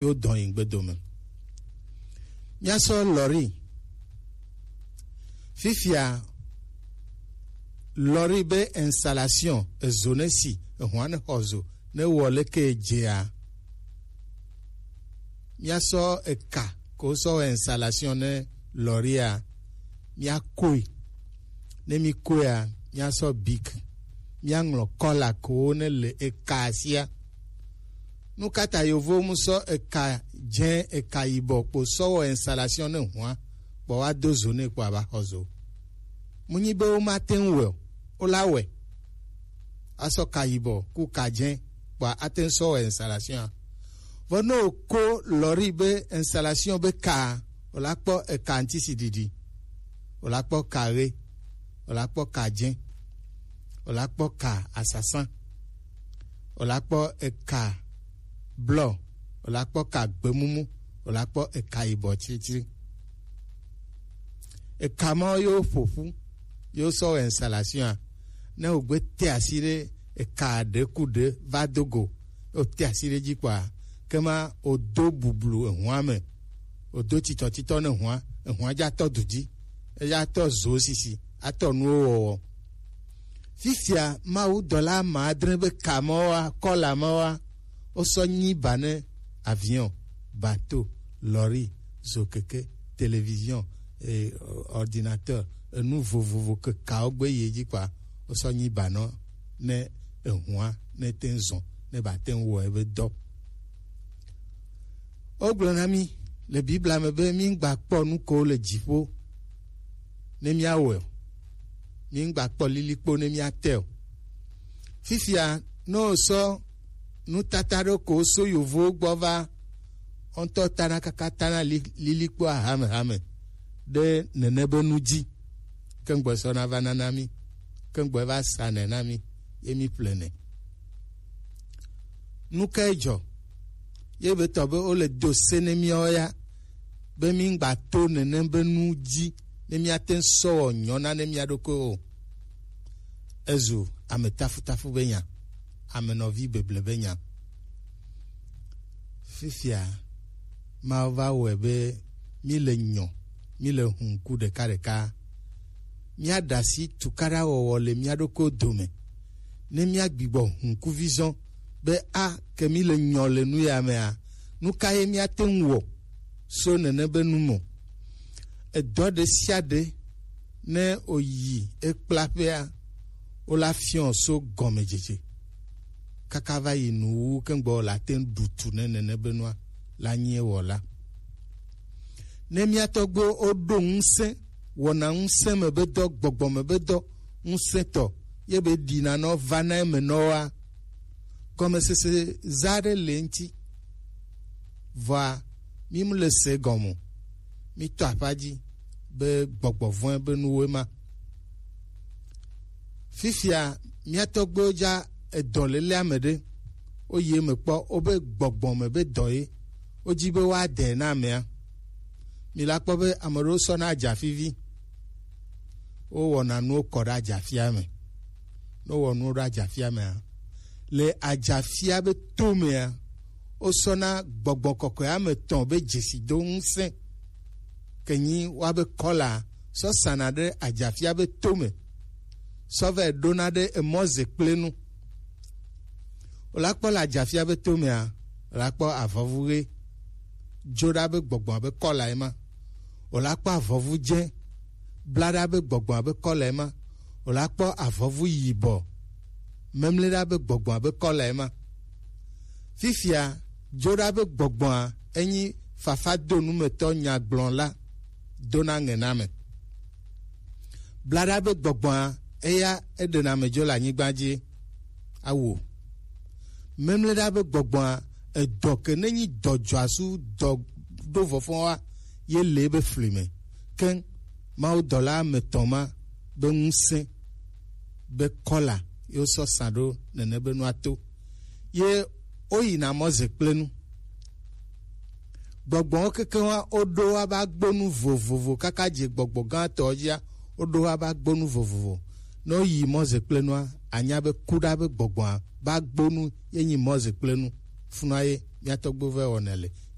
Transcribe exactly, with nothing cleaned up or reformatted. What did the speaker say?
yo dɔn yi gbedo me. Míasɔ lɔri. Fifia lɔri be installation ezo ne si ehwan ne xɔ zo ne wɔ leke dzea. Míasɔ eka ko sɔ wɔ installation ne lɔria. Míakoe. Ne míkoea, míasɔ bik. Míaŋlɔ kɔla ko ne le eka sia. Nu ka ta yovowo mu sɔ eka dzẽ, eka yibɔ kpo sɔ wɔ installation ne hua, kpɔ wa do zo ne kpɔ aba xɔ zo? Mu nyi be wo ma te ŋu wɛ o, wo la wɛ. Asɔ ka yibɔ ku ka dzẽ kpɔ ate ŋu sɔ wɔ installation a. Vɔ ne o ko lɔri be installation be ka, o la kpɔ eka ŋtisi ɖiɖi, o la kpɔ ka ɣe, o la kpɔ ka dzẽ, o la kpɔ ka asasã, o la kpɔ eka blɔ, o la kpɔ ka gbemumu, o la kpɔ eka yibɔ tsritsri. Eka ma yo ƒoƒu, yo sɔ wɔ installation a. Ne o gbe te asi ɖe eka ɖe ku ɖe va do go, o te asi ɖe dzi kpɔa, ke ma o do bublu ehua me, o do titɔtitɔ ne hua, ehua dza tɔ du dzi, eya tɔ zo sisi, atɔ nuwo wɔwɔ. Fifia Mawu dɔla ame adre be ka mawoa, kɔla mawoa, wosɔ nyi ba ne avion, bateau, lɔri, zokeke, télévision, eh, ordinateur, enu vovovo ke kawo gbe yi dzi kpɔa, wosɔ nyi ba nɔ ne ehua ne te ŋu zɔn ne ba te ŋu wɔ ebe dɔ. Wogblɔ na mí le Biblia me be míŋgba kpɔ nu ko le dziƒo ne míawɔe o. Míŋgba kpɔ lilikpo ne míate o. Fifia, ne wosɔ nutata ɖo ko so yovowo gbɔ va, wo ŋutɔ tana kaka tana li-, lilikpo ahamehame ɖe nene be nu dzi. Ke ŋgbɔ sɔ na va nana mí. Ke ŋgbɔ va sa nɛ na mí. Ye mí ƒle nɛ. Nu kae dzɔ? Ye be tɔ be wole do se ne míawo ya, be míŋgba to nenem be nu dzi, ne míate ŋu sɔ wɔ nyɔna ne mía ɖokuiwo o. Ezu ame tafutafu be nya, ame nɔvi beble be nya. Fifia, Mawu va wɔe be míle nyɔ, míle hu ŋku ɖekaɖeka. Míaɖe asi tukaɖawɔwɔ le mía ɖokuiwo dome, ne míagbigbɔ hu ŋkuvi zɔn be a ke míle nyɔ le nu ya mea, nu ka ye míate ŋu wɔ so nene be nu me o? Edɔ ɖe sia ɖe ne oyi ekplaƒea, wola fiɔ so gɔmedzedze kaka va yi nuwu keŋgbɔ la te ŋu ɖu tu ne nene be nua la nyi ewɔla. Ne mía tɔgbuiwo woɖo ŋusẽ, wɔna ŋusẽ me be dɔ, gbɔgbɔ me be dɔ ŋusẽtɔ, ye be ɖina nɔ va na eme nɔwoa, gɔmesese za ɖe le ŋuti. Vɔa, mí mu le se gɔme o. Mí tɔ aƒa dzi be gbɔgbɔ vɔ̃e be nuwoe ma. Fifia mía tɔgbuiwo dza edɔ lele ame ɖe, woyi eme kpɔ, wobe gbɔgbɔ me be dɔ ye, wodzi be woadae na amea. Mi la kpɔ be ame ɖewo sɔna adzafivi, wowɔna nuwo kɔ ɖe adzafia me. Ne wowɔ nuwo ɖe adzafia mea, le adzafia be to mea, wosɔna gbɔgbɔ kɔkɔe ame etɔ̃ be dzesido ŋusẽ, ke nyi woabe kɔla, sɔ sana ɖe adzafia be to me, sɔ vɛ ɖona ɖe emɔ ze kple nu. Wòla kpɔ le adzafia be to mea, wòla kpɔ avɔvu ɣe, dzo ɖa be gbɔgbɔ abe kɔla ema. Wòla kpɔ avɔvu dze, bla ɖa be gbɔgbɔ abe kɔla ema. Wòla kpɔ avɔvu yibɔ, memle ɖa be gbɔgbɔ abe kɔla ema. Fifia, dzo ɖa be gbɔgbɔa enyi fafa do numetɔ nyagblɔla dona ŋe na ame. Bla ɖa be gbɔgbɔa eya eɖena ame dzo le anyigba dzi awo. Memle ɖa be gbɔgbɔa edɔ ke nenyi dɔ dzɔasu dɔ ɖo vɔfɔwa ye le ebe fli me. Keŋ Mawu dɔla ame etɔ̃ ma be ŋusẽ be kɔla ye wosɔ sa ɖo nene be nua to. Ye woyina mɔ ze kple nu. Gbɔgbɔwo kekeŋ wa woɖo wa ba gbonu vovovo kaka dze gbɔgbɔ gãtɔ dzia, woɖo wa ba gbonu vovovo. Ne woyi mɔ ze kple nua, anya be kuɖa be gbɔgbɔa ba gbonu ye nyi mɔ ze kple nu. Funa ye mia tɔgbuiwo vɛ wɔna le.